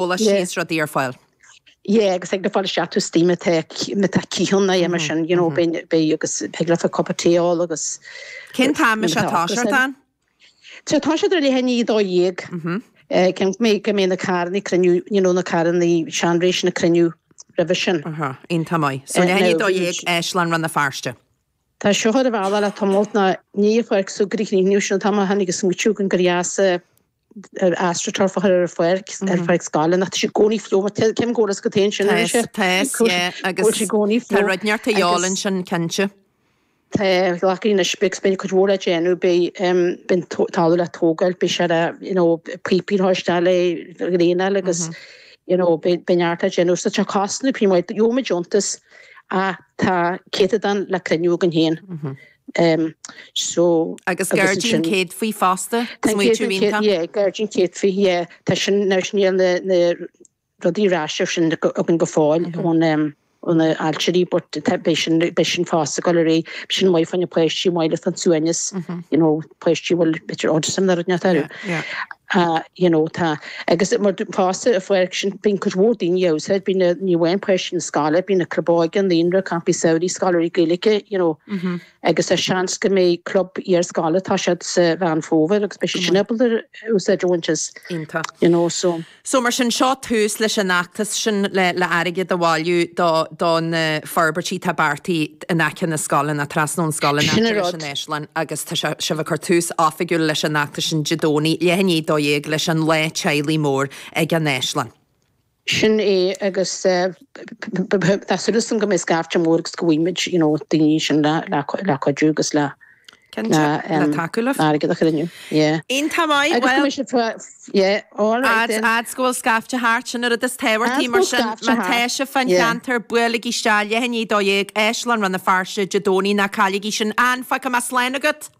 Eolas is rudaí ar fáil. Yeah, agus thig leat fáil isteach tú istigh má tá má tá cith ann nó mar sin, you know, beidh beidh agus thig leat cup of tea a ól agus Cén t-am is ea toiseacht ann? Tá toiseacht ar leath i ndiaidh 12. Cím go mbeidh go mbeidh na carranna ag cruinniú, you know, na carranna seanré sin ag cruinniú roimhe sin. Aha, iontach maith. So leath i ndiaidh 12, Áislann Rann na Feirste. Tá seo ar a bhealach le tamalt ná ní a pháirc súgartha chríochnú sin an t-am a tháinig an smaoitiú againn gur dheas astroturf a chur ar an pháirc, ar pháirc scoile, nach tá sé i gcónaí fliuch, mar cén gcóras go téann sin ar sé? Tá, yeah, agus sé i gcónaí tá rud inteacht a dhíobháil ansin, cinnte. Tá, glacadh anois, beidh beidh cuid mhór le déanamh, beidh beidh an talamh le tógáil, beidh sé le, you know, píopaí a chur isteach le draenáil agus, you know, beidh beidh neart le déanamh. So tá cosnú pí maith, gheobhaimid deontas ach tá céatadán le cruinniú againn féin. So, Agus gairdín céadfaí fosta, smaoitiú iontach. Yeah, gairdín céadfaí, yeah. Tá sin, now sin níl na, na rudaí ar ais sin againn go fóill ón ó na ailtirí but tá, beidh sin, beidh sin fosta ag dul ar aghaidh. Beidh sin maith fá choinne páistí, maith le fán suaimhneas, you know, páistí a bhfuil b'fhéidir autism nó rud inteacht orthu. Yeah, yeah. You know, tá, agus mar fosta an pháirc sin, bíonn cuid mhór daoine á úsáid, bíonn na, ní amháin páistí na scoile, bíonn na club óige, an naíonra, campaí samhraidh, scoláirí Gaeilge, you know, agus tá seans go mbeidh club iarscoile, tá siad sa Mheán Fómhair agus beidh siad sin ábalta úsáid a bhaint as, Iontach. you know, so. So mar sin, seo tús leis an fheachtas sin le le airgead a bhailiú do do na forbairtí atá beartaithe in aice na scoile, nó trasna ón scoil in Sin aice an leis rud. an Áislann agus tá sé sibh ag cur tús oifigiúil leis an fheachtas sin Dé Domhnaigh, leath i ndiaidh 12 leis an lá teaghlaigh mór ag an Áislann. Sin é agus tá súil agam go mbeidh scaifte mór agus go bhfaighimid you know daoine sin le le cuidiú agus le Cinnte, le tacú libh. airgead a chruinniú. Yeah. Iontach maith, Agus go mbeidh sibh yeah, all right then. Fhad 's go bhfuil scaifte thart, sin an rud is tábhachtaí, mar sin má tá sibh fán cheantar, buailigí isteach, leath i ndiaidh 12, Áislann Rann na Feirste, Dé Domhnaigh, ná cailligí sin. Ann, fágfaidh mé slán agat!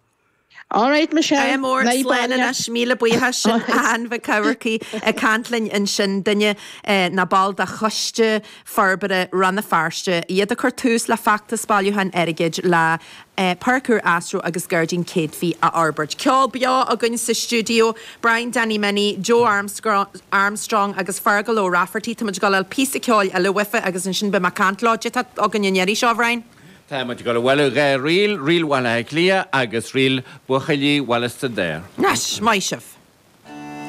All right, Michelle. Ádh mór, slán anois, míle buíochas. Sin Ann Mhic Eamharcaigh ag caint linn ansin, duine ná ball de Choiste Forbartha Rann na Feirste, iad ag cur tús le feachtas bailiúcháin airgid le Páirc úr Astro agus Gairdín Céadfaí a fhorbairt. Ceol beo againn sa stiúideo, Brian Danny Minnie, Joe Armstrong agus Fergal O'Rafferty. Tá muid ag dul a fháil píosa ceoil eile uafa agus ansin beidh mé ag caint leo. Cad é atá againn an iarraidh seo, a Bhrian? Tá muid ag dul a bhualadh 2 ríl, Ríl Bhaile Átha Cliath agus Ríl Buachaillí Bhaile Staidéir. Anois, maith sibh!